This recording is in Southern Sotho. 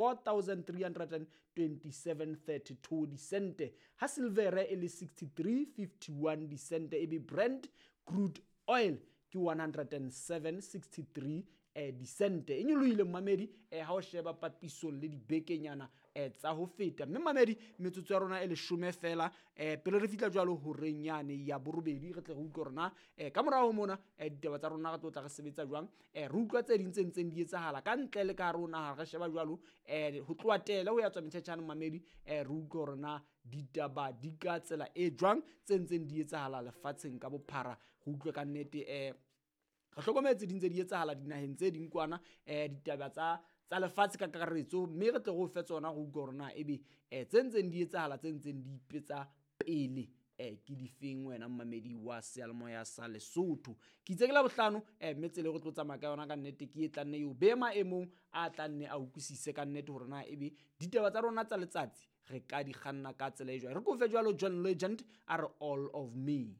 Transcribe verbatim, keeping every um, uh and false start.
four thousand three hundred and twenty-seven thirty-two disente, ha silvere e le sixty-three fifty-one disente, ebe Brent crude oil ke one hundred and seven sixty-three eh, disente. E nyolohile mmamedi eh, ha o sheba papisong le dibekenyana eh, tsa ho feta. Mme mmamedi, metsotso ya rona e leshome fela eh, pele re fihla jwalo horeng yane ya borobedi, re tle re utlwe rona eh, ka morao ho mona eh, ditaba tsa rona re tlo tla re sebetsa jwang, eh, re utlwa tse ding tse ntseng di etsahala ka ntle le ka hare ho naha. Re sheba jwalo eh, ho tloha tele ho ya tswa metjhetjhane mmamedi, eh, re utlwe hore na ditaba di ka tsela e jwang tse ntseng di etsahala lefatsheng ka bophara. Re utlwe ka nnete eh, re hlokometse di ntse di etsahala dinaheng tse ding kwana, eh, ditaba tsa, tsa lefatshe ka kakaretso, mme re tle re o fe tsona re utlwe hore na ebe, eh, tse ntseng di etsahala tse ntseng di ipetsa pele, eh, ke difeng wena mmamedi wa seyalemoya sa Lesotho. Ke itse ke la bohlano, eh, mme tsela e re tlo tsamaya ka yona ka nnete ke e tla nne eo be maemong a tla nne a utlwisise ka nnete hore na ebe ditaba tsa rona tsa letsatsi re ka di kganna ka tsela e jwang. Re kofe jwalo John Legend a re All of Me.